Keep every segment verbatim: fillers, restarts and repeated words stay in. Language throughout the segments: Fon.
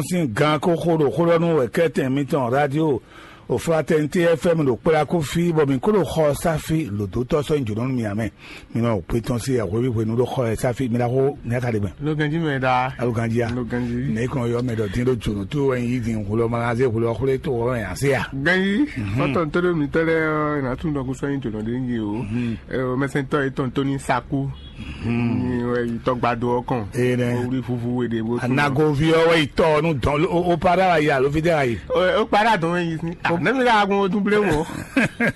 sín gan kó xó ɖo xó ɖɔ nú wɛ̌kɛ́tɛn mitɔn radio Oflatɛnité F M ɖo kplá kó fí, bɔ mǐ kó ɖo xɔ sáfí lǒdótɔ́ sɔ́ nyi jǒnɔ nú mì ǎ mɛ. Mi nɔ gbé tɔn sí ahweví hwenu ɖó xɔ ɛ sáfí, mi ná xó mi ná ka ɖe gbɛn. Ló ganjí mɛ ɖa. Alo ganjí a? Ló ganjí. Nɛ kɔn yɔ mɛ ɖɔ dín ɖó jǒnɔ tó wɛ nyi dín hwlɔ ma zé hwlɔ xwlé tó wɛ mɛ ase a? Ganjí. Mhm. Fɔtɔn tó ɖo mitɔ lɛ ɔ, ina tún dɔkun sɔ́ nyi jǒnɔ ɖé nyi o. Mhm. Ɛ, o mɛsɛntɔ yetɔn tó ní sakú. Ní wɛ yi tɔgbado ɔ́ kɔn. Ee nɛ. Wuli vuvu we ɖe bó tún. Anagovi ɔ́ wɛ yi tɔ nu dɔn o para wa yi alo fi tɛ wa yi. O para dɔn wɛ yi si. Ah, ne mi ka gun o dun ble wo.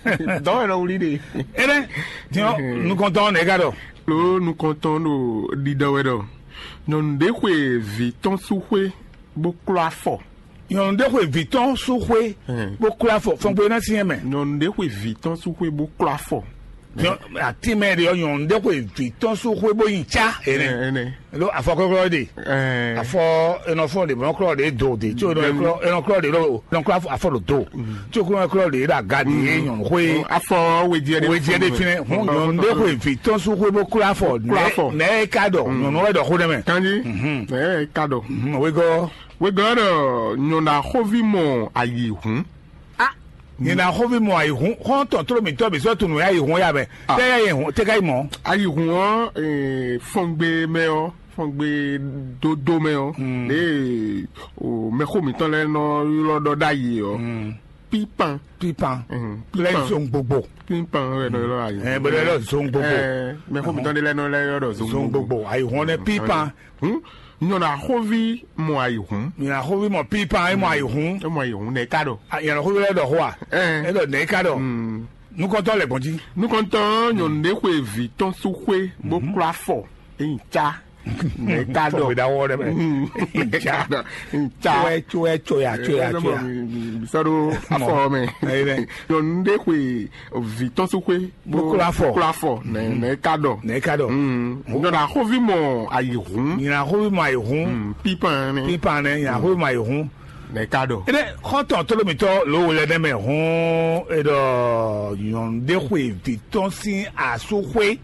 Dɔn wɛ nɔ wuli de. Ee nɛ. Tiɲɔ nukɔntɔn nɛ ka dɔ. Lo nukɔntɔn ɖo ɖiɖɔ wɛ ɖɔ nyɔnu ɖe xwe vi tɔn su xwe bó klɔ afɔ. Nyɔnu ɖe xwe vǐ tɔn sú xwé bó kló afɔ fɔngbe ná syɛ́n mɛ. Nyɔnu ɖé xwe vǐ tɔn sú xwé bó kló afɔ. Atín mɛ ɖe ɔ́, nyɔnu ɖé xwe vǐ tɔn sú xwé bó nyi cá. Ɛnɛ. Ɖó afɔ kɔklɔ ɖe. Afɔ enɔfɔ ɖe mɔ klɔ ɖe do de tso enɔklɔ ɖe ɖo enɔklɔ afɔ ɖo do tso kúrò klɔ ɖe ɖo aga de ye nyɔnu xwé. Afɔ wejɛ ɖe wejɛ ɖe finɛ. Nyɔnu ɖé xwe vǐ tɔn sú xwé bó kló afɔ. Nɛ ka ɖɔ nyɔnu wɛ ɖɔ xó ɖe mɛ. Kanji. Nɛ ka ɖɔ. Wegɔ. Wegɔ́ ɖɔ nyɔ̌ná xóví mɔ ayǐhún. Nyɔ̌ná xóví mɔ ayǐhún xɔ́ntɔn tló mǐtɔn bǐ sɔ́ tunwun ayǐhún ya mɛ. Tɛ yɛ yɛ hún tɛ ka yi mɔ. Ayǐhún ɔ́, fɔngbe mɛ ɔ́, fɔngbe dódó mɛ ɔ́, ɖe mɛxó mǐtɔn lɛ́ɛ nɔ ylɔ́ ɖɔ ɖ'ayǐ ɔ́, pípan. Pípan. Lɛ zon gbogbo. Pípan wɛ nɔ ylɔ́ ayǐhún. Ɛ bɛ lɛ zon gbogbo. Mɛxó mǐtɔn ɖé lɛ́ɛ nɔ lɛ́ ylɔ́ ɖɔ zon gbogbo. Ayǐhún ɔ́ nɛ pípan. Nyɔ̌ná xóví mɔ ayǐhún. Nyɔ̌ná xóví mɔ pípan é mɔ ayǐhún. É mɔ ayǐhún nɛ ká ɖɔ. Nyɔ̌ná xóví lɛ ɖɔ xó a? É ɖɔ nɛ ká ɖɔ. Nukɔntɔn lɛ gbɔn jí. Nukɔntɔn nyɔ̌nu ɖé xwe vǐ tɔn sú xwé bó kló afɔ. É nyi cá. Nɛ ká ɖɔ. Fɔwé ɖawɔ ɖɛ mɛ. Nca. Nca. Tsoɛ tsoɛ tsoya tsoya tsoya. Bisɔɖo afɔ mɛ. Nyɔ̌nu ɖé xwe vǐ tɔn sú xwé. Bó kló afɔ. Kló afɔ nɛ nɛ ka ɖɔ. Nɛ ka ɖɔ. Nyɔ̌ná xóví mɔ ayǐhún. Nyɔ̌ná xóví mɔ ayǐhún. Pípan nɛ. Pípan nɛ nyɔ̌ná xóví mɔ ayǐhún. Nɛ ka ɖɔ. Ene xɔntɔn tolomitɔ lo wele ne mɛ hún eɖɔ nyɔnu ɖe xwe vi tɔn sín asú xwé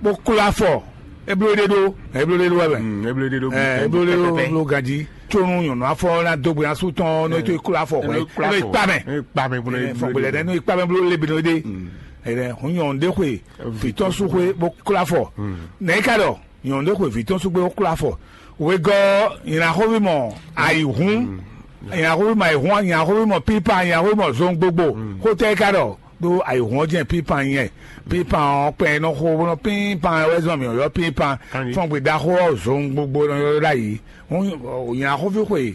bó kló afɔ. Eblo ɖe ɖo eblo ɖe ɖo wɛ mɛ. Eblo ɖe ɖo eblo ɖe ɖo eblo ganji. Tsonu nyɔnu afɔ na dogbe asú tɔn n'o to kló afɔ xwɛ n'o ikpa mɛ. Ikpa mɛ bolo. Fɔgbɛlɛ dɛ n'o ikpa mɛ bolo lebi n'o ɖe. Ɛnɛ hun nyɔnu ɖe xwe vi tɔn sú xwé bó kló afɔ. Nɛ ka ɖɔ nyɔnu ɖe xwe vi tɔn sú xwé bó kló afɔ. Wegɔ́ nyina xóvi mɔ ayǐhún. Nyina xóvi mɔ ayǐhún, nyina xóvi mɔ pípa, nyina xóvi mɔ zɔn gbogbo. Xótɛ ka ɖɔ ɖó ayǐhún ɔ́ jẹ́ pípan nyɛ. Pípan ɔ́ kpɛ nɔ xo bó nɔ pípan wɛ zɔn mǐ ɔ́ ylɔ́ pípan. Fɔ́n gbe ɖaxó ɔ́ zɔn gbogbo nɔ ylɔ́ ɖ'ayǐ. Nyina xóvi xwe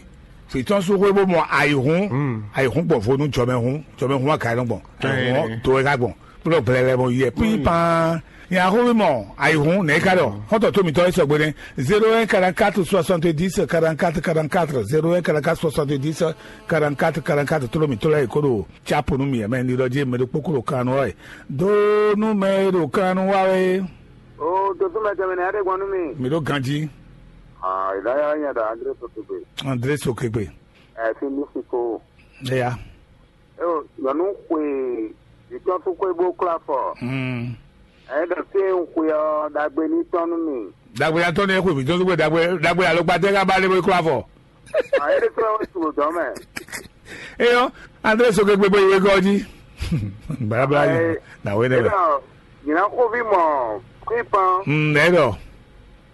fǐtɔ́n sú xwé bó mɔ ayǐhún. Ayǐhún gbɔn vo nú jɔmɛhún, jɔmɛhún wá ka nɔ gbɔn. Ayǐhún ɔ́ do wɛ ka gbɔn. Kplɔ́ blɛlɛ bɔ yɛ pípan. Nya xóví mɔ ayǐhún nɛ̌ ká ɖɔ xɔ́ntɔn tó mitɔn é sɔgbe nɛ́. Zéro un quarante-quatre soixante-dix quarante-quatre quarante-quatre, zéro un quarante-quatre soixante-dix quarante-quatre quarante-quatre, tló mǐtɔn lɛ́ɛ è kó ɖo tsápo nú mì mɛ ní ɖɔ jí mɛ ɖokpó kó ɖo kan nú wá wɛ. Dó nú mɛ e ɖo kan nú wá wɛ. O dodúmɛ tɛnmɛ nɛ aɖé gbɔn nú mi. Mǐ ɖó ganjí. Ah, ìdáyà yẹn dà André Sotogbe. André Sokegbe. Ẹ fi ní fi ko. Eya. Eo, nyɔnu xwe vǐtɔ́n fúnxwé bó klɔ́ afɔ. Ɛ̌ ɖɔ fí e un xwe ɔ́, ɖagbe ní tɔ́n nú mì. Dagbe ya tɔn ne xwe vǐtɔn zugbe dagbe dagbe alɔgbatɛ ka ba le bo klɔ afɔ. Ayé ɖé fúnra wɛ su dɔ̌ mɛ. Eyɔ, André Sokegbe bo yi wegɔ́ jí. Balabala yi na we ne mɛ. Nyina xóvi mɔ pípan. Ɛdɔ.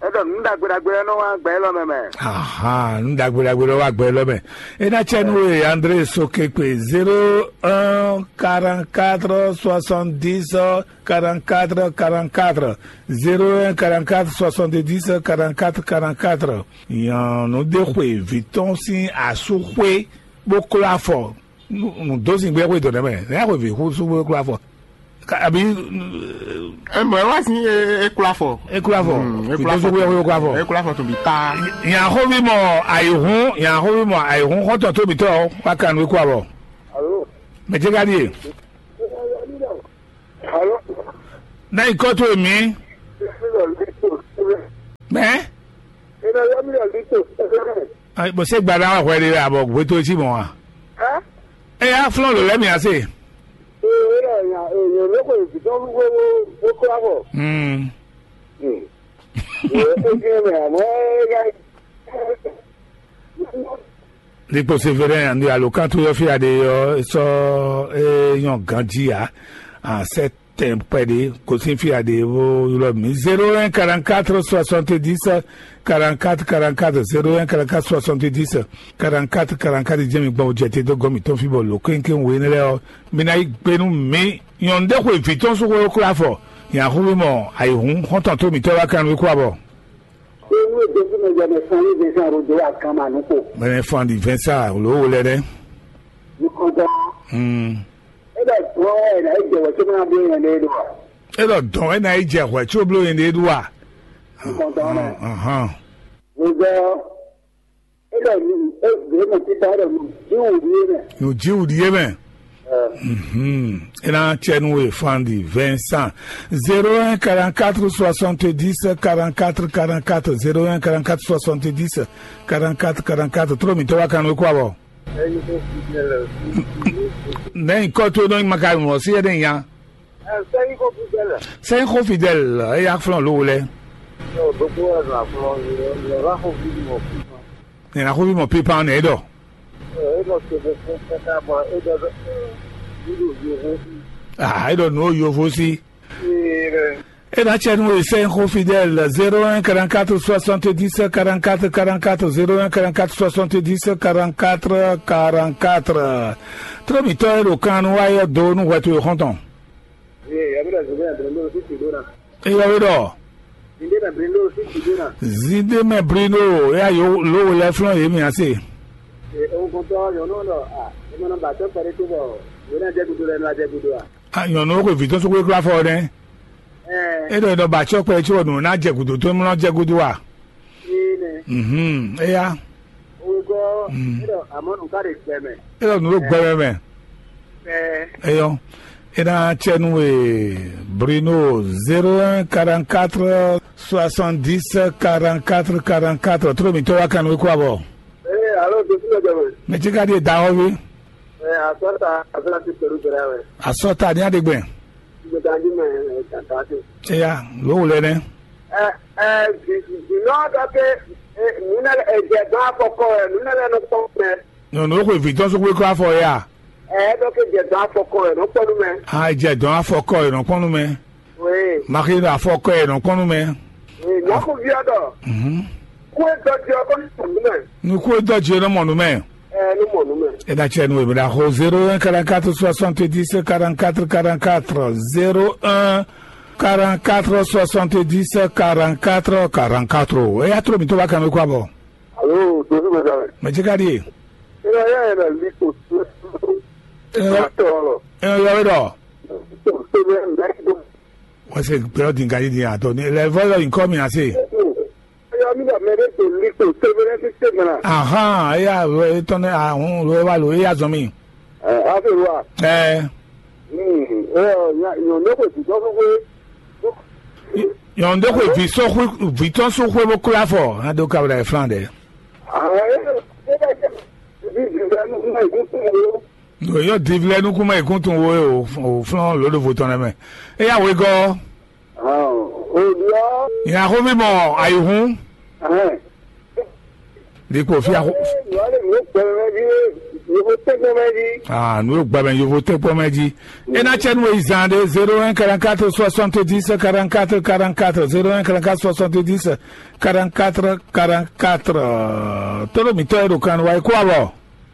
Ɛdɔ nǔ ɖagbe ɖagbe lɛ́ɛ nɔ wá gbɛ élɔ́ mɛ mɛ. Ahan, nǔ ɖagbe ɖagbe lɛ́ɛ wá gbɛ élɔ́ mɛ. É ná cɛ nú we André Sokekpe zéro un quarante-quatre soixante-dix quarante-quatre quarante-quatre, zéro un quarante-quatre soixante-dix quarante-quatre quarante-quatre. Nyɔnu ɖé xwe vǐ tɔn sín asú xwé bó klɔ́ afɔ. Nǔ dó sin gbé xwé dó nɛ́ mɛ, nɛ́ xwe vǐ xú sú bó klɔ́ afɔ. Abi. Ɛmɔ ɛ wá sí e kplá fɔ. E kplá fɔ. Vǐ dó sú gbé xwé klɔ́ afɔ. E kplá fɔ tún bí paa. Nya xóvi mɔ ayǐhún, nya xóvi mɔ ayǐhún xɔ́ntɔn tóbitɔ wá kan nú kú abɔ. Alo. Mɛ jẹ́ ká ɖíe. Alo. Náà ikọ́ tó èmi. Mɛ. Bó ṣe gbadá wà hwɛ ɖe abɔ gbé tó sí mɔ wa. Ɛ yá flɔ́n lò lɛ́ mì ase. Ee, wé ɖɔ nya, ee, nyɔ̌nu xwe vǐtɔn wíwé bó bó klá bɔ. Mm. Mm. Ee, é jẹ́ mɛ, àmọ́ é ká. Likpo Severin, andi alokantú yɔ fia ɖe yɔ sɔ e nyɔ ganji a a sɛ tɛn pɛ ɖe kosin fia ɖe wo ylɔ mi zéro un quarante-quatre soixante-dix quarante-quatre quarante-quatre, zéro un quarante-quatre soixante-dix quarante-quatre quarante-quatre. Jɛmi gbɔn jɛ te dó gɔmi tɔn fi bɔ lo kénkéŋ wo énɛ́ lɛ́ɛ ɔ, mi ná yí gbe nú mi. Nyɔ̌nu ɖé xwe vǐ tɔn sú xwé kúlá fɔ, nya xú mi mɔ ayǐhún xɔ́ntɔn tó mǐtɔn wá kan nú kú abɔ. Ewúrẹ́ Jésù mɛ jẹ́ mɛ fún ní Vincent Rodo akanma nukó. Mɛ fún di Vincent ló wo lɛ dɛ. Nukɔntɔn. Hmm. E bɛ gbɔn ɛ na e jɛ wɛ tó máa bí yẹn lé do wa. E lɔ dɔn e na yi jɛ hwɛ tso blo yẹn de do wa. Nukɔntɔn mɛ. Ahan. Wòzɔ e bɛ nu e bɛ mɛ títà e bɛ nu jíwù di yé mɛ. Nu jíwù di yé mɛ. Mhm. E na cɛ nu e fún di Vincent. Zéro un quarante-quatre soixante-dix quarante-quatre quarante-quatre, zéro un quarante-quatre soixante-dix quarante-quatre quarante-quatre. Tró mi tɔ́ wá kan nú e kó abɔ. Nɛ̌ nyǐkɔ towe nɔ nyí Makalunu ɔ́ sí ɛnɛ́ nya? Sɛ́nyíxɔ Fidɛ́l. Sɛ́nyíxɔ Fidɛ́l, eya flɔ́n lǒ lɛ́ɛ. Ɖokpó wɛ nɔ aflɔ́n, nyɔ̌láxɔví mɔ fífá. Nyɔ̌láxɔví mɔ pípa nɛ é ɖɔ. É nɔ te fún káká bɔ é ɖɔ ɖɔ é ɖo yovo sí. Ah, é ɖɔ nǔ ó yovo sí. Ee, É ná cɛ nú we sɛ́n xó Fidèle zéro un quarante-quatre soixante-dix quarante-quatre quarante-quatre, zéro un quarante-quatre soixante-dix quarante-quatre quarante-quatre. Trɔ́mǐtɔ́ e ɖo kan nú wá ɔ́ dó nú hwɛ towe xɔ́ntɔn. Ee, yɛ mi ɖɔ zǐnbɛ́ mɛ Brindólo sín Sidóna. Eyɔ we ɖɔ Zǐnbɛ́ mɛ Brindólo sín Sidóna. Zíndé mɛ Brindólo, eya yo ló we lɛ́ɛ flɔ́n yě mì ase. Ee, ohun kɔntɔn nyɔ̌nu ɔ́ ɖɔ a, è mɔ nɔ ba tɔ́ kpɛɖé tó bɔ yě ná jɛ gúdo lɛ́ɛ nɔ wá jɛ gúdo a? A nyɔ̌nu xwe vǐ tɔn sókwe klá fɔ nɛ́. É ɖɔ è nɔ ba acɔ́ kpɛ cóbɔ nǔ ná jɛ gǔdo tó nú ná jɛ gúdo a? Énɛ́. Mhm, éyá. Wegɔ́ é ɖɔ amɔ̌ nǔ ká ɖe gbɛ mɛ. É ɖɔ nǔ ɖo gbɛ mɛ mɛ. Pɛɛ. Eyɔ. É ná cɛ nú we Bruno zéro un quarante-quatre soixante-dix quarante-quatre quarante-quatre. Tró mǐtɔn wá kan nú we kó abɔ. Ee, alo, dosi lɔ jɛ mɛ. Mɛ tí ka ɖíe da xɔ́ví. Ee, asɔta, asɔta ti pɛlu jɛ ɖe wɛ. Asɔta ní aɖegbɛ. Ìgbésẹ̀ ajú mẹ́ ẹ̀ tàtà sí. Eya, ló wò lɛ nɛ. Ɛ ɛ, jìnnà dɔ pé nunɛlɛ ɛjɛ dɔn afɔkɔ ɛ nunɛlɛ nɔ kpɔn mɛ. Nyɔnu xwe vǐ tɔn sókwe kó afɔ ya. Ɛ dɔ pé jɛ dɔn afɔkɔ ɛ nɔ kpɔn mɛ. A jɛ dɔn afɔkɔ ɛ nɔ kpɔn mɛ. Oui. Maxi ɖo afɔkɔ ɛ nɔ kpɔn mɛ. Oui, nyɔku viɔ dɔ. Mhm. Kue dɔ jɔ kɔ nɔ mɛ. Ni kue dɔ jɔ nɔ mɔ nu mɛ. Ɛ nɔ mɔ nu mɛ. E na cɛ nu e bɛ na xo zéro un quarante-quatre soixante-dix quarante-quatre quarante-quatre, zéro un quarante-quatre soixante-dix quarante-quatre quarante-quatre. E ya trɔ mi to ba kan mi kó abɔ. Alo, dozi mɛ da mɛ. Mɛ ce ka di e? E ya ya yɛ na li ko. E ya tɔ lɔ. E ya yɔ dɔ. Wese gbɛrɛ din gadi din atɔ ni lɛ vɔ yɔ nkɔ mi ase. Yɔ mi da mɛ de to li ko. Ahan, eya etɔn ne ahun lo wa lo eya zɔn mi. Ɛ, afewa. Ɛ. Hmm, ɛ, nya nyɔ ne ko ti dɔ ko ko. Nyɔnu ɖé xwe vǐ sɔ́ xwé vǐ tɔn sɔ́ xwé bó klá fɔ ado kabla e flan ɖɛ. Ɖo yɔ divi lɛ nukún mɛ ìkún tun wo o flɔn lǒɖovo tɔn lɛ mɛ. Eya wegɔ́. Nya xóví mɔ ayihún. Ɖikpo fia xó. Nǔ e gbɛmɛ jí. Ah, nǔ e gbɛmɛ yovo tɛ́ gbɔmɛ jí. E ná cɛ nú e zan ɖé zéro un quarante-quatre soixante-dix quarante-quatre quarante-quatre, zéro un quarante-quatre soixante-dix quarante-quatre quarante-quatre. Tɔ́ɖɔ mǐtɔn e ɖo kan wa e kó abɔ.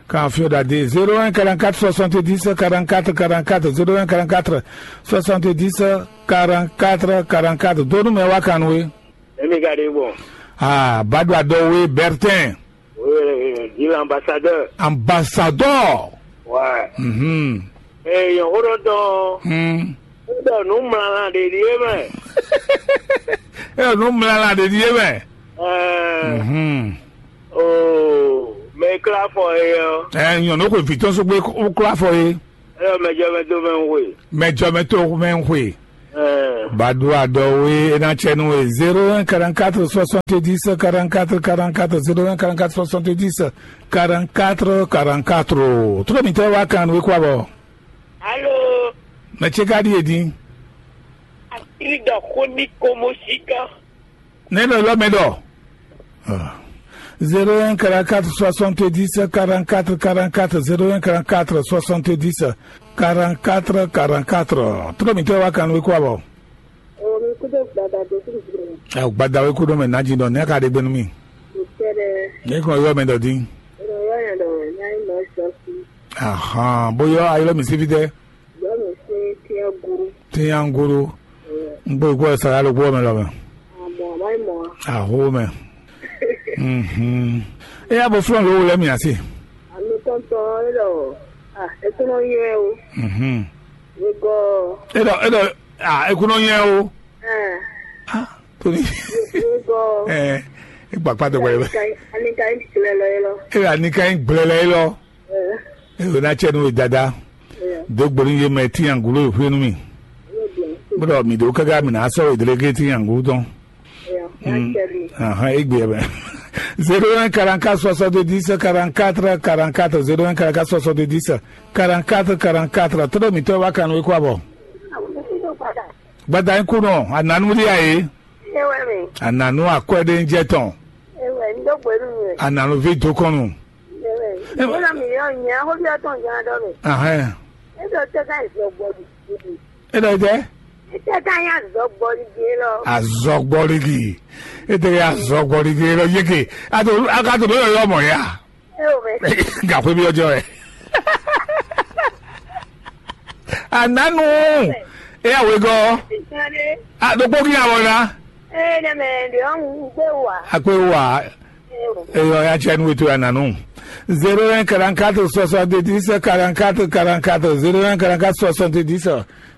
Kan fio ɖa dé zéro un quarante-quatre soixante-dix quarante-quatre quarante-quatre, zéro un quarante-quatre soixante-dix quarante-quatre quarante-quatre. Dó nú mɛ wá kan nú we. Emi ka ɖe gbɔn. Ah, Badou Adɔwe Bertin. Oui, oui, oui, dit l'ambassadeur. Ambassadeur. Ouais. Mhm. Eh, yon hodo don. Hmm. Hodo nu mlala de die mɛ. Eh, nu mlala de die mɛ. Eh. Mhm. Oh, mais kla fɔ ye. Eh, yon no ko vitɔn so gbe ko kla fɔ ye. Ɛ mɛ jɔ mɛ do mɛ ń hwe. Mɛ jɔ mɛ to mɛ ń hwe. Ɛɛ. Badua dɔ we e na cɛ nu e zéro un quarante-quatre soixante-dix quarante-quatre quarante-quatre, zéro un quarante-quatre soixante-dix quarante-quatre quarante-quatre. Trɔ mi tɛ wa kan we kwa bɔ. Alo. Mɛ ce ka di e din. Asiri dɔ ko ni ko mo si kan. Ne nɔ lɔ mɛ dɔ. Ah. Zéro un quarante-quatre soixante-dix quarante-quatre quarante-quatre, zéro un quarante-quatre soixante-dix quarante-quatre quarante-quatre. Trɔ mǐtɔn wá kan nú kó abɔ. Omi kúdó gbada dó kúdó gbada. Ɛ gbada wé kúdó mɛ nájí dɔ ní aka ɖe gbénu mi. Ìtẹ́rẹ́. Ní kàn yọ mɛ dɔ dín. Ìrọ̀lọ́ yẹn dọ̀ ní ayé mọ̀ ẹ́ sọ sí. Ahan, bóyá ayé lọ mi sí fi dɛ. Yọ mi sí tiẹ́ gúrú. Tiẹ́ gúrú. N gbé gbọ́ sara ló gbọ́ mɛ lọ mɛ. Àmọ́ àmọ́ ìmọ̀. Àhó mɛ. Mhm. E ya bo flɔn lo lɛ mi asi. Àmì tɔntɔn é lọ. Ah, é tún lọ yẹ o. Mhm. Wégɔ. E dɔ e dɔ ah, e kun nɔ nyɛ o. Ɛ. Ah, Tony. Wégɔ. Eh, e gbakpa dɔ gbɛlɛ. Anika yi gblɛ lɔ yɛ lɔ. E anika yi gblɛ lɛ lɔ. Ɛ. E o na cɛ nu dada. Ɛ. Do gbori ye mɛ ti yan gulo e hwenu mi. Yóò di. Bro, mi do kaga mi na sɔ e delege ti yan gulo tɔn. Ɛ. Na cɛ di. Ahan, e gbe bɛ. Zéro un quarante-quatre soixante-dix quarante-quatre quarante-quatre, zéro un quarante-quatre soixante-dix quarante-quatre quarante-quatre. Todo mi to wa kan we kwa bɔ. Gbada kúnɔ, ananu di aye. Ewe mi. Ananu akwɛde jɛ tɔn. Ewe ndo gbenu mi. Ananu vi dokɔnu. Ewe. Ina mi yo nya ho bi atɔn jan dɔ mi. Ahɛn. E do te ka zo gbɔ di. E dɔ tɛ? E te ka ya zo gbɔ di ge lɔ. Azɔgbɔligi. E te ya zɔgbɔligi lɔ yeke. A to a ka to do yɔ mɔ ya. Ewe. Ga xwe bi ɔjɔ ɛ. Ananu. E ya wegɔ. Sane. A do kpɔki ya wɔ na. Ee, ne mɛ de ɔn gbé wa. Akpé wa. Eyɔ ya tiɛ nu weto ya nanu. Zéro un quarante-quatre soixante-dix quarante-quatre quarante-quatre, zéro un quarante-quatre soixante-dix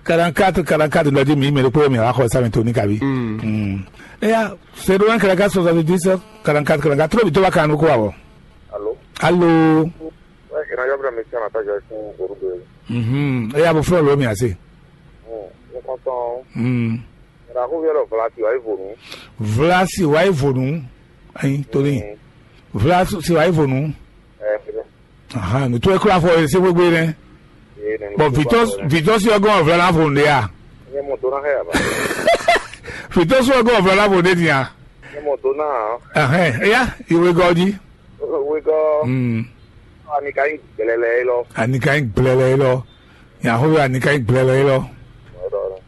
quarante-quatre quarante-quatre lɔ di mi mɛ ɖokpó mi wá xɔ sami tó ní kabi. Eya, zéro un quarante-quatre soixante-dix quarante-quatre quarante-quatre, tó bi tó bá kanu kó wa wɔ. Alo. Alo. Wɛ ìrànlọ́wọ́ bẹ̀rẹ̀ mi sí ọ̀nà tọ́jú ẹkún orúkọ yẹn. Mhm. Eya bó fúlọ̀ lómi àṣẹ. Nǹkan tán. Mm. Ìràkúnmí ọ̀rọ̀ Vlasi wáyé vònú. Vlasi wáyé vònú. Ayi, torí. Vlasi wáyé vònú. Ẹ ẹ. Aha, nùtú ẹ kúrò afọ ẹ ṣe gbégbé rẹ. Bɔn vitɔsi ɔgɔn ɔvla na vo nde ya. Nye mo dona hɛ aba. Vitɔsi ɔgɔn ɔvla na vo nde nia. Nye mo dona. Ɛhɛn, eya, iwe gɔdi. Wegɔ. Mm. Ani ka yi gbɛlɛlɛ yi lɔ. Ani ka yi gbɛlɛlɛ yi lɔ. Yahowa ani ka yi gbɛlɛlɛ yi lɔ.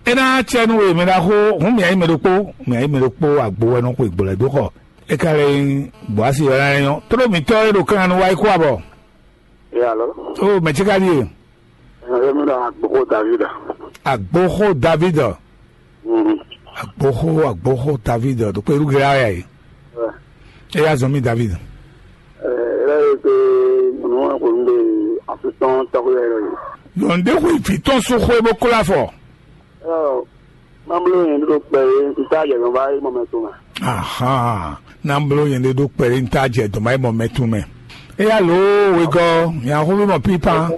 Ena cɛ nu we mɛ na xo, hun mi ayi mɛ ɖokpo, mi ayi mɛ ɖokpo agbo wɛ nɔ xwe gbɔlɛ dó xɔ. E ka lɛ nyi Boasi wɛ na nyɔ. Tló mǐtɔn e ɖo kan nu wá yi kó abɔ. Yalo. O mɛ ce ka ɖie? Ɛɛ, mi ɖo agboxo David. Agboxo David. Mhm. Agboxo, agboxo David, ɖo kpé ɖu gɛlɛ ya yi. Wɛ. E ya zɔn mi David. Ɛɛ, e lɛ yi pe nunu wa ko nu de afitɔn tɔgɔ yɛ yɛ. Yɔnde xwe fitɔn so xwe bó kó afɔ. Ɛɛ, Mamlo yẹn ɖo kpɛ yé, n ta jɛ nɔ va yi mɔ mɛ to mɛ. Ahan, Namblo yẹn ɖe ɖo kpɛ yé, n ta jɛ dɔn va yi mɔ mɛ to mɛ. Eya lo wegɔ, yan xó bí mɔ pípa.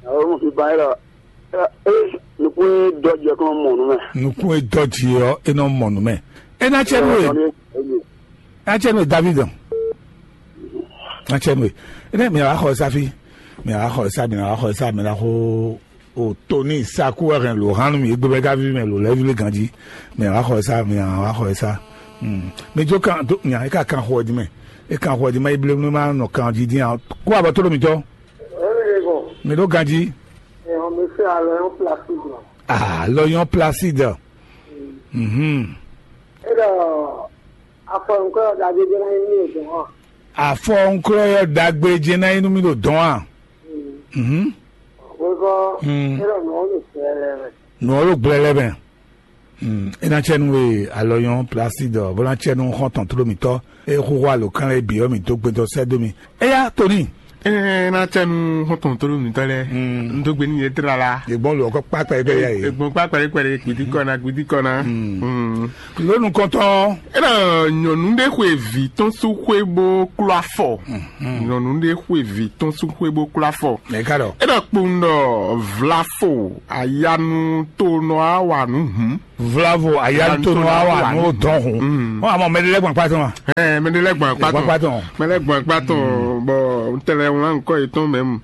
Àwọn ọmọ fi ba yẹn lọ. Ẹ ẹ nukun dɔ jẹ kó mọ nù mẹ. Nukun e dɔ jì ɔ, e nɔ mɔ nù mɛ. E na cɛ nu e, na cɛ nu e David. Na cɛ nu e. E ne mi a xɔ safi, mi a xɔ sa, mi a xɔ sa, mi a xɔ O Toni Saku wɛ hɛn lǒ hán nú mì égbé bɔ é ka ví mɛ lǒ lɛ́ɛ ví lé ganjí. Mɛ wá xɔ ɛ sá, mɛ wá xɔ ɛ sá. Mi jó kan dó nya é ka kan xɔ ɛ dín mɛ. É kan xɔ ɛ dín mɛ é blé nú má nɔ kan jí dín ǎ. Kó abɔ tó ɖo mǐtɔn. Mǐ ɖó ganjí. Alɔ nyɔ́ Placide. Mhm. Afɔ ŋklɔ yɔ ɖagbe jɛ ná nyí nú mì ɖo dɔn a? Mhm. Wekɔ Mm. Ela nɔ ɔnu sɛlɛ mɛ. Nɔ ɔlu gblɛ lɛ mɛ. Mm. E na cɛ nu we alɔ nyɔ Placide bó na cɛ nu xɔn tɔn tló mǐtɔ. E xúxú alo kan lɛ bǐ ɔ mǐ dó gbɛdɔ sɛ dó mi. Eya Tony. Ena cɛ nu xɔn tɔn tló mǐtɔ lɛ. Mm. N dó gbe ní yɛ tlala. Egbɔn lɔ kɔ kpakpa yi bɛ ya yi. Egbɔn kpakpa yi kpɛlɛ gbidi kɔna gbidi kɔna. Mm. Mm. Lónú kɔntɔn. Ena nyɔnu ɖe xwe vi tɔn sú xwe bó kló afɔ. Nyɔnu ɖe xwe vi tɔn sú xwe bó kló afɔ. Mɛ ka ɖɔ. Ena kpowun ɖɔ vlafo ayanu to nɔ awa nu hùn. Vlavo ayanu to nɔ awa nu dɔn hùn. Ɔ àmọ́ mɛ ɖe lɛ gbɔn kpatɔ ma. Ɛ mɛ ɖe lɛ gbɔn kpatɔ. Gbɔn kpatɔ. Mɛ lɛ gbɔn kpatɔ. Bɔ un tlɛ wlán nukɔ yětɔn mɛ mu.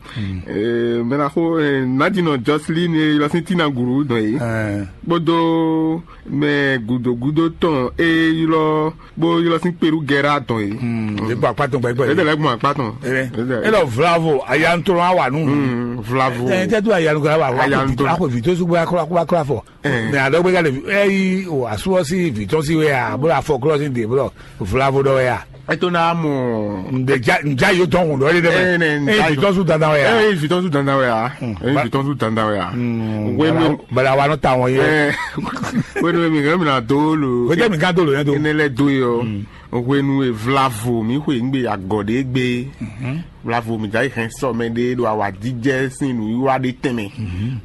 Mɛ ná xo nádinɔ Jɔslín e ylɔ́ sín Tína Gǔlú dɔn é, kpódó mɛ gǔdo gúdo tɔn e ylɔ́ bó ylɔ́ sín Perugɛ́ra dɔn é. Yě gbɔ akpá tɔn gbɛgbɛ. Yě lɛ́ gbɔn akpá tɔn. Ɛ lɔ vlavo ayanutɔlɔ wa nu. Vlavo. Ɛ tɛ do ayanugba wa wa. Ayanutɔlɔ. Akɔ vǐ tó sukpɔ akɔlɔ akɔlɔ akɔlɔ afɔ. Mɛ adɔgbe ka le ɛ yi o asúwɔ sí vǐ tɔn sí wɛ a bó afɔ klɔ sí de bó vlavo dɔ wɛ a. Ɛ tó ná mɔ. Ǹdè ja ǹja yóò tɔn hùn dɔ é dɛ. Ɛ nɛ ǹja yóò tɔn sùn dandan wɛ a. Ɛ yi vǐ tɔn sùn dandan wɛ a. Ɛ yi vǐ tɔn sùn dandan wɛ a. Wɛnu. Bala wa nɔ ta wɔn yɛ. Wɛnu mi kàn mi na dó lo. Wɛjɛ mi gán dó lo yẹn do. Ene lɛ dó yɔ. Hwenu e vlavo mǐ xwe nǔ gbe agɔ̌ ɖé gbe, vlavo mǐ jɛ hɛn sɔ mɛ ɖé ɖo awǎjijɛ sín nǔwiwa ɖé tɛnmɛ,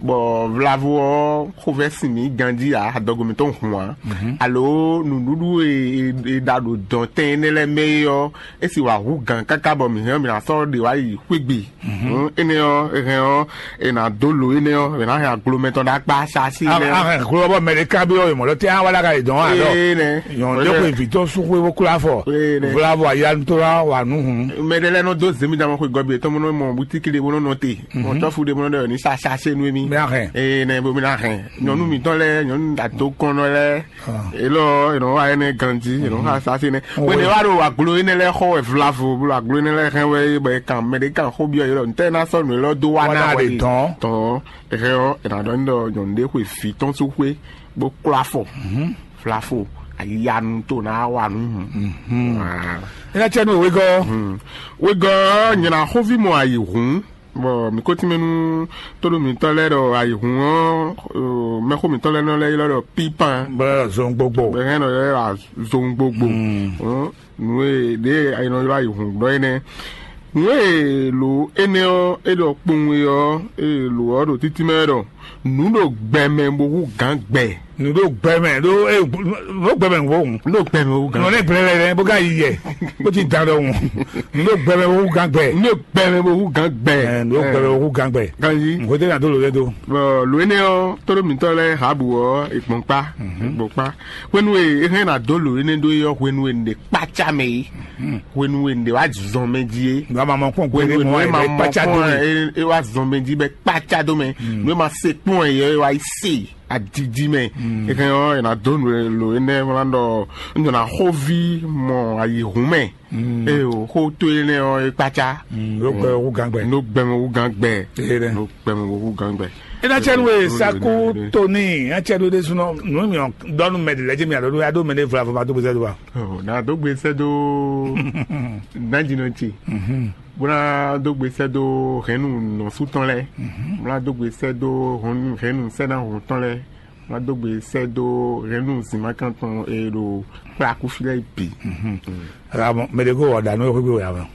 bɔ vlavo ɔ́ xovɛ́ sin mǐ ganjí ǎ, adɔgo mǐtɔn hun ǎ, alo nǔɖuɖu e è ɖa ɖo dɔ̌n tɛn énɛ́ lɛ́ɛ mɛ é ɔ́, é sì wǎ hú gǎn káká bɔ mǐ hɛn ɔ́ mǐ ná sɔ́ ɖe wá yi xwé gbe. Hǔn énɛ́ ɔ́, è hɛn ɔ́, è nǎ dó lǒ énɛ́ ɔ́, è nǎ hɛn aglo mɛtɔn ɖó akpá Sasíi lɛ́ɛ ɔ́. Ahɛn gló ɔ́ bɔ mɛ ɖé ká byɔ́ wěmɔ ɖɔ tɛ́ á wá ɖó aga yědɔn wá ɖɔ Énɛ́. Nyɔ̌nu ɖé xwe vǐ tɔn sú xwé bó kló afɔ. Énɛ́. Vla vɔ ayanu tó ná wa nǔ hǔn. Mɛ ɖé lɛ́ɛ nɔ dó zěmidamɔ xwe gɔ́ bǐ yětɔn bó nɔ mɔ bútíki ɖé bó nɔ nɔ te. Mɔ cɔ́fu ɖé bó nɔ ɖɔ ní sa sasé nú émí. Mɛ ahɛn. Énɛ́ bó mí ná hɛn. Nyɔ̌nu mǐtɔn lɛ́ɛ, nyɔ̌nu adokɔnnɔ lɛ́ɛ. Elɔ è nɔ wa énɛ́ ganjí, è nɔ xa sasé nɛ́. Wé. Bó ne wá ɖo aglo énɛ́ lɛ́ɛ xɔ wɛ vlavo, bó ɖo aglo énɛ́ lɛ́ɛ hɛn wɛ bɔ è kan mɛ ɖé kan xó byɔ́ yě ɖɔ ntɛ́ ná sɔ́ nǔ élɔ́ dó wá ná wɛ dɔn. Tɔn. Hɛn ɔ́, è nǎ ɖɔ nyi ɖɔ nyɔ̌nu ɖé xwe vǐ tɔn sú xwé bó kplá fɔ. Flafo, ayanu tó ná wa nú. Énɛ́ cɛ nú wegɔ́. Wegɔ́ nyina xóví mɔ ayǐ hǔn, bɔ mǐ ko tínmɛ nú tónú mǐtɔn lɛ́ɛ ɖɔ ayǐ hǔn ɔ́, mɛxó mǐtɔn lɛ́ɛ nɔ lɛ́ ylɔ́ ɖɔ pípan. Bɔ zɔn gbogbo. Bɛ hɛn nɔ lɛ́ wá zɔn gbogbo. Nǔ e ɖě è nɔ ylɔ́ ayǐhun ɖɔ é nɛ́. Nǔ e lǒ énɛ́ ɔ́ é ɖɔ kpowun é ɔ́, é lǒ ɔ́ ɖo títí mɛ wɛ ɖɔ nǔ ɖo gbɛ mɛ bó hú gǎn gbɛ. Nǔ ɖo gbɛ mɛ ɖó é ɖó gbɛ mɛ bó hú. Nǔ ɖo gbɛ mɛ bó hú gǎn. Nɔ nɛ gbɛ lɛ bó ka yi yɛ bó ti dan ɖɔhun. Nǔ ɖo gbɛ mɛ bó hú gǎn gbɛ. Nǔ ɖo gbɛ mɛ bó hú gǎn gbɛ. Ɛ, nǔ ɖo gbɛ mɛ bó hú gǎn gbɛ. Ganji. Nǔ ko tɛ na dó lǒ lɛ dó. Bɔ lǒ énɛ́ ɔ́, tóɖó mǐtɔn lɛ́ɛ Habu ɔ́, è gbɔn kpá, è gbɔn kpá. Hwenu e é hɛn ná dó lǒ énɛ́ ɖó é ɔ́, hwenu e un ɖe kpácá mɛ é, hwenu e un ɖe wá zɔn mɛ jí é, nú a ma mɔ kpɔn hwenu gbeɖé e mɔ nǔ e ma mɔ kpácá dó kpɔn mɛ. É wá zɔn mɛ jí bɛ kpácá dó mɛ, nú e ma se kpɔn ɛ é wá yi se adidi mɛ. É hɛn ɔ́, è nǎ dó nǔ e lǒ énɛ́ wlán ɖɔ un jɔ ná xóví mɔ ayǐhún mɛ. Ée o, xó tó énɛ́ ɔ́ é kpácá. Ló gbɛ wú gán gbɛ. Ló gbɛ mɛ wú gán gbɛ. Ló gbɛ mɛ wú gán gbɛ. Ena cɛ nu e saku toni acɛ ɖo ɖe sunɔ nu mi dɔnu mɛ de lɛ jɛ mi alo ɖo ya ɖo mɛ de vla vɔ ma do gbèsè do wa. Ɔ na do gbèsè do. Danjinɔ tse. Bó ná do gbèsè do hɛnnu nɔsú tɔn lɛ. Bó ná do gbèsè do hɛnnu sɛnahun tɔn lɛ. Ná do gbèsè do hɛnnu zìnmákan tɔn e ɖo kplaku fi lɛ bǐ. Mɛ de ko wɔ ɖa nú xwé wɛ amɛ.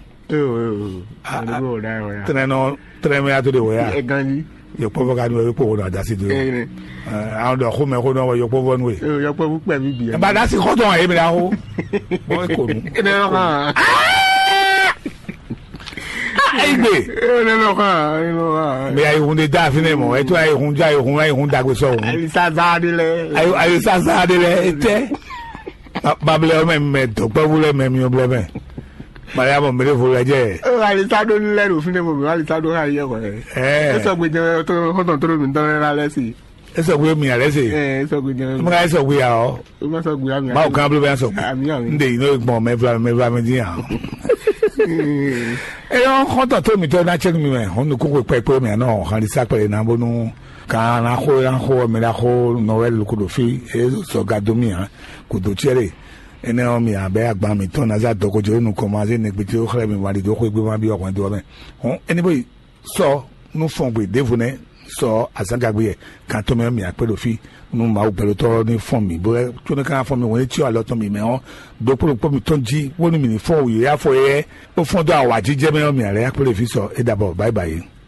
Tɛnɛnɔ tɛnɛmɛ ya to de wɛ ya. Ɛ ganji. Yɔkpɔvɔ ka ni wɛ kpo wona dasi do. Ɛ ne. An dɔ xo mɛ xo nɔ wɛ yɔkpɔvɔ nu ye. Yɔkpɔvu kpɛ mi bi. Ba dasi xɔ tɔn ye mi la xo. Bɔ e ko nu. Ɛ ne yɔrɔ kan. Ayi gbe. Ɛ ne yɔrɔ kan. Mɛ ayi hun de da fi ne mɔ. Eto ayi hun ja ayi hun ayi hun dagbe sɔ hun. Ayi sa za de lɛ. Ayi sa za de lɛ etɛ. Babilɛ mɛ mɛ dɔkpɛvu lɛ mɛ miɔ blɛ mɛ. Mariamu mele vo lɛ jɛ. Alisado lɛ ɖo fínɛ́ mo mɛ alisado hã yɛ kɔ. Ɛ. Esɔgbe jɛ xɔtɔn tó mi dɔn lɛ lɛ si. Esɔgbe mi alɛ se. Ɛ esɔgbe jɛ. Mo ka esɔgbe ya ɔ. O ma sɔgbe ami. Bawo kan blo bɛ sɔgbe. Ami ami. N de yi n'o gbɔn mɛ fila mɛ fila mɛ di yan. Eyɔ xɔtɔn tó mi tɔ na cɛ mi mɛ hɔn nukun ko kpɛkpɛ mi anɔ hɔn alisa kpɛ na bonu kan na xo na xo mi na xo nɔwɛli ko do fi e sɔga do mi hàn. Kudo tiɛ ɖe. Énɛ́ ɔ́, mi abɛ́ agban mǐtɔn ná zá dɔgojǒ nukɔn ma zé nɛgbé ce xlɛ́ mi wali dó xwégbé ma byɔ́ hwɛndo ɔ́ mɛ. Hɔn énɛ́ bó yi sɔ́ nú fɔngbe ɖěvo nɛ́ sɔ azǎngagbe yɛ kan tɔn mɛ ɔ́, mǐ akpé ɖo fí nú Mawu gbɛɖotɔ́ ɔ́ ní fɔ́n mǐ, bó có nɔ ka ná fɔ́n mì wɛn e cyɔ alɔ tɔn mǐmɛ́ ɔ́ ɖokpó ɖokpó mitɔn jí, bónú mǐ ní fɔ́n wǔyá fɔ éyɛ́ bó fɔ́n dó awǎjijɛ mɛ ɔ́, mǐ ná lɛ́ akpé ɖo fí sɔ é ɖabɔ báyibáyi.